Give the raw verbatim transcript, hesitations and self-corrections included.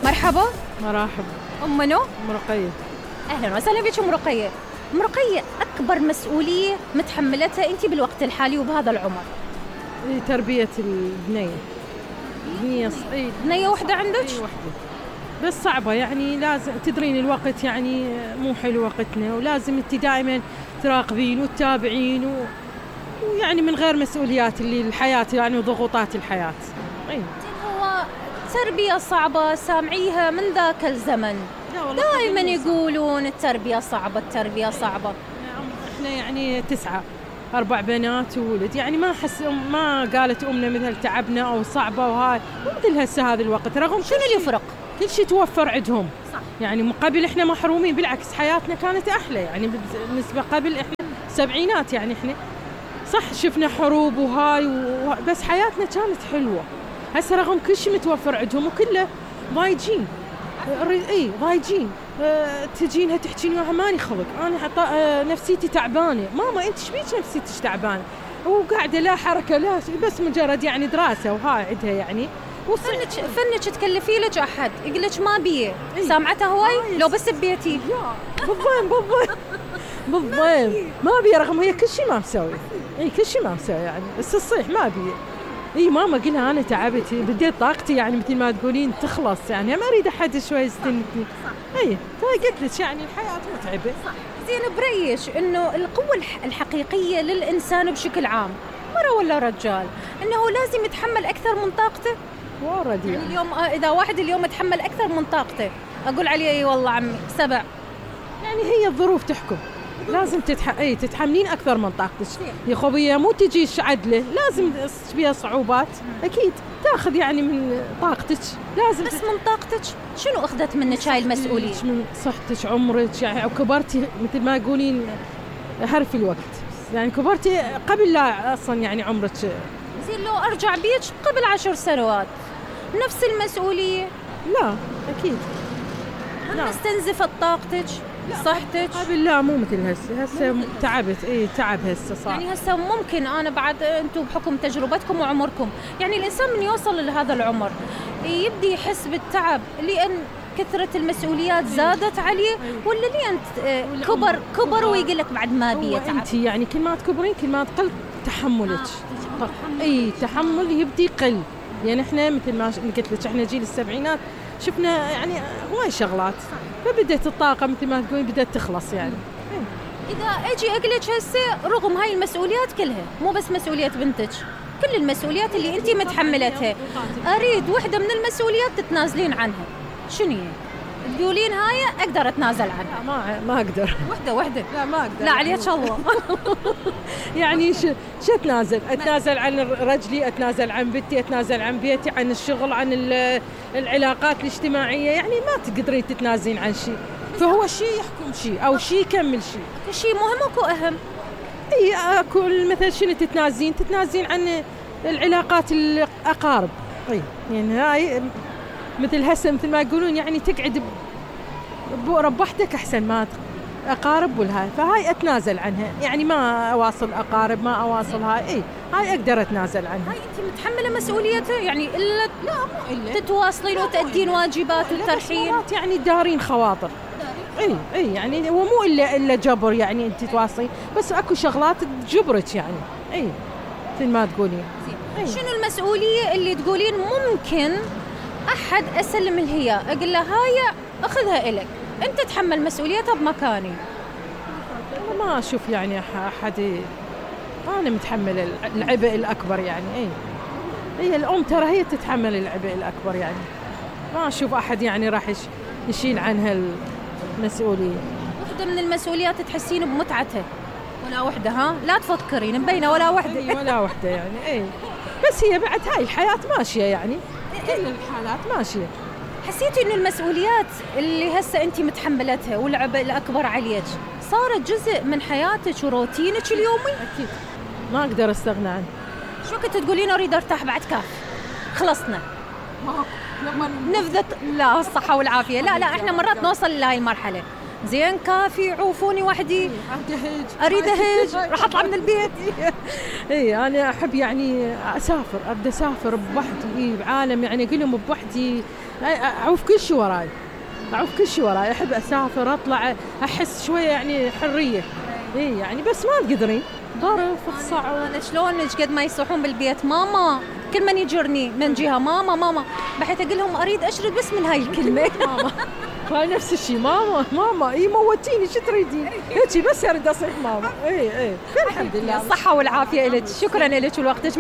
مرحبا. مرحبا. أم منو؟ أم رقية. أهلا وسهلا بك أم رقية. أم رقية، أكبر مسؤولية متحملتها أنت بالوقت الحالي وبهذا العمر؟ تربية البنية. بنية ص... اي بنية وحدة عندك؟ اي وحدة، بس صعبة يعني. لازم تدرين الوقت يعني مو حلو وقتنا، ولازم انت دائما تراقبين وتتابعين و... ويعني من غير مسؤوليات اللي الحياة يعني وضغوطات الحياة. اي هو تربية صعبة سامعيها من ذاك الزمن، دائما يقولون التربية صعبة التربية صعبة. احنا يعني تسعة، أربع بنات وولد، يعني ما حس ما قالت أمنا مثل تعبنا أو صعبة وهاي، مثل هسه هذا الوقت. رغم شنو اللي يفرق؟ كل شيء توفر عندهم. صح. يعني من قبل إحنا محرومين، بالعكس حياتنا كانت أحلى يعني بالنسبة قبل. إحنا سبعينات يعني إحنا صح شفنا حروب وهاي و... بس حياتنا كانت حلوة. هسه رغم كل شيء متوفر عندهم وكله ضايجين. اي ضايجين. أه تجينها تحكيني وياها ماني خلق، انا حط أه نفسيتي تعبانه. ماما انت شبيك نفسيتك تعبانه؟ وقاعده لا حركه لا بس مجرد يعني دراسه وهاي عندها يعني. فنك فنك تكلفي لك احد يقول لك ما بيه. سامعتها هواي لو بس ببيتي بالضبط بالضبط بالضبط ما بيه. رغم هي كل شيء ما مسوي. اي كل شيء ما مسوي يعني، بس تصيح ما بيه. اي ماما قلها انا تعبت، بديت طاقتي يعني مثل ما تقولين تخلص، يعني ما اريد احد شوي يستنكني. اي قلت لك يعني الحياه متعبه. صح. زين برايك انه القوه الحقيقيه للانسان بشكل عام مره ولا رجال انه لازم يتحمل اكثر من طاقته؟ وارد يعني اليوم اذا واحد اليوم يتحمل اكثر من طاقته اقول عليه اي والله عمي سبع. يعني هي الظروف تحكم، لازم تتح... اي تتحملين اكثر من طاقتك يا خوية، مو تجيش عدله، لازم فيها صعوبات اكيد تاخذ يعني من طاقتك، لازم بس من طاقتك. شنو اخذت منك هاي المسؤوليه؟ من صحتك، عمرك يعني، او كبرتي مثل ما يقولين هرف الوقت، يعني كبرتي قبل لا اصلا يعني عمرك. زين لو ارجع بيك قبل عشر سنوات نفس المسؤوليه؟ لا اكيد. هل استنزفت طاقتك صحتك؟ قبل لا مو مثل هسه. هسه تعبت. اي تعب هسه صار. يعني هسه ممكن انا بعد انتم بحكم تجربتكم وعمركم، يعني الانسان من يوصل لهذا العمر يبدي يحس بالتعب لان كثرة المسؤوليات زادت عليه، ولا لين كبر كبر ويقول لك بعد ما بي تعب؟ انت يعني كل ما تكبرين كل ما تقل تحملك. آه. اي تحمل يبدي يقل. يعني احنا مثل ما قلت لك احنا جيل السبعينات شفنا يعني هواي شغلات، فبدت الطاقة مثل ما تقولين بدت تخلص يعني. إذا أجي أقلك هسه رغم هاي المسؤوليات كلها، مو بس مسؤولية بنتك، كل المسؤوليات اللي أنت متحملتها، أريد وحدة من المسؤوليات تتنازلين عنها، شنو هي؟ تقولين هاي أقدر أتنازل عنها؟ ما ما أقدر. وحدة وحدة. لا ما أقدر. لا عليك الله. يعني شو شو أتنازل؟ أتنازل عن رجلي، أتنازل عن بنتي، أتنازل عن بيتي، عن الشغل، عن العلاقات الاجتماعية، يعني ما تقدرين تتنازلين عن شيء. فهو شيء يحكم شيء أو شيء يكمل شيء. شيء مهم أكو أهم. اي اكو مثل شنو تتنازلين؟ تتنازلين عن العلاقات الأقارب. اي يعني هاي مثل هسه مثل ما يقولون يعني تقعد بربحتك أحسن ما أقارب والهاي، فهاي أتنازل عنها، يعني ما أواصل أقارب، ما أواصل هاي. إيه هاي أقدر أتنازل عنها. هاي أنت متحملة مسؤوليتها يعني إلا لا مو إلا تتواصلين وتأدين واجبات وترحين، يعني دارين خواطر. إيه إيه يعني هو مو إلا إلا جبر يعني أنت تواصلين، بس أكو شغلات تجبرك يعني. إيه مثل ما تقولين. إيه. شنو المسؤولية اللي تقولين ممكن أحد أسلم الهي أقول له هاي أخذها إلك أنت تحمل مسؤوليتها بمكاني؟ أنا ما أشوف يعني أحد. أنا متحمل العبء الأكبر يعني. إيه هي الأم ترى هي تتحمل العبء الأكبر يعني، ما أشوف أحد يعني راح يشيل عنها المسؤولية. وحدة من المسؤوليات تحسين بمتعتها ولا وحدة؟ ها لا تفكرين مبينة ولا وحدة. إيه ولا وحدة يعني. إيه بس هي بعد هاي الحياة ماشية يعني، كل الحالات ماشية. حسيتي إنه المسؤوليات اللي هسه أنت متحملتها والعبء الأكبر عليك صارت جزء من حياتك وروتينك اليومي؟ أكيد ما أقدر أستغنى عنه. شو كنت تقولين أريد أرتاح بعد كاف خلصنا نفذت؟ لا الصحة والعافية. لا لا إحنا مرات نوصل لهاي المرحلة. زين كافي عوفوني وحدي، أريد أهج، راح أطلع من البيت. إيه أنا أحب يعني أسافر، أبدأ أسافر بوحدي. إيه بعالم يعني أقول لهم بوحدي اعوف كل شيء وراي، اعوف كل شيء وراي، احب اسافر اطلع احس شويه يعني حريه. اي يعني بس ما تقدرين ظرف الصعب. انا شلون قد ما يصيحون بالبيت ماما، كل من يجرني من جهه ماما ماما، بحيث اقول لهم اريد اشرد بس من هاي الكلمه. ماما هاي نفس الشيء، ماما ماما اي موتيني شو تريدين هيك بس اريد اصيح ماما. اي اي الحمد لله، الصحه والعافيه لك، شكرا لك ولوقتك.